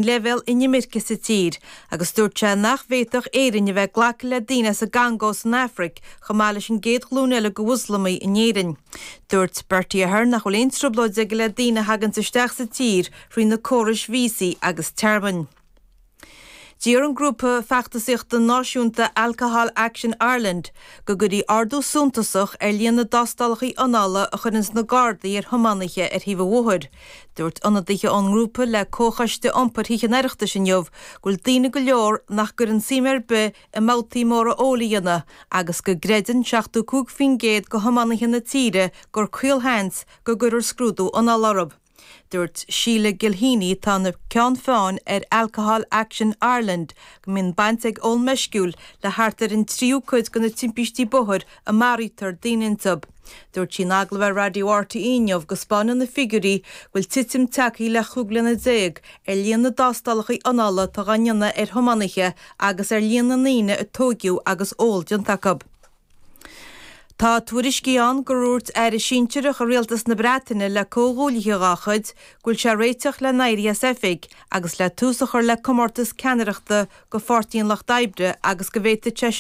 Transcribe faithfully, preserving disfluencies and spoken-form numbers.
Leibhéal inimirce sa tír agus dúirt sé nach bhféadfadh Éirinn a bheith ag glacadh le daoine as an gCongó san Afraic chomh maith leis an gcéad ghlúin eile de Mhoslamaigh in Éirinn. Dúirt Bertie Ahern nach bhfuil aon trioblóid aige le daoine a thaganns isteach sa tír thrí na córais víosaí agus tearmainn. D'iarr an grúpa feachtasaíochta náisiúnta Alcohol Action Ireland go gcuirfí ardú suntasach ar líon na dtástálacha anála a chuireanns na Gardaí ar thiománaithe ar thaobh an bhóthair. Dúirt ionadaithe ón ngrúpa le Comhchoiste Iompair Thithe an Oireachtais inniu go bhfuil daoine go leor nach gcuireann suim ar bith i mbabhtaí móra óil a dhéanamh agus go gcreideann seachtó cúig faoin gcéad de thiománaithe na tíre gur caolsheans go gcuirfear scrúdú anála orthu. Dúirt Sheila Gilheany atá ina ceann feadhain ar Alcohol Action Ireland go mbíonn baint ag ól meisciúil le thart ar an tríú cuid de na timpistí bóthair a maraítear daoine iontu. Dúirt sí in agallamh ar Raidió RTÉ inniu go spáineann na figiúirí go bhfuil titim tagtha le chúig bliana déag ar líon na dtástálacha anála atá á ndéanamh ar thiománaithe agus ar líon na ndaoine a tóigeadh agus ól déanta acu. Tá tuairiscí ann gur dhúirt aire sinsearach i rialtas na Breataine le comhghuaillithe dá chuid go bhfuil sé réiteach le n-éirí as oifig agus le tús a chur le comórtas ceannaireachta do Pháirtí an Lucht Oibre agus go bhféadfadh sé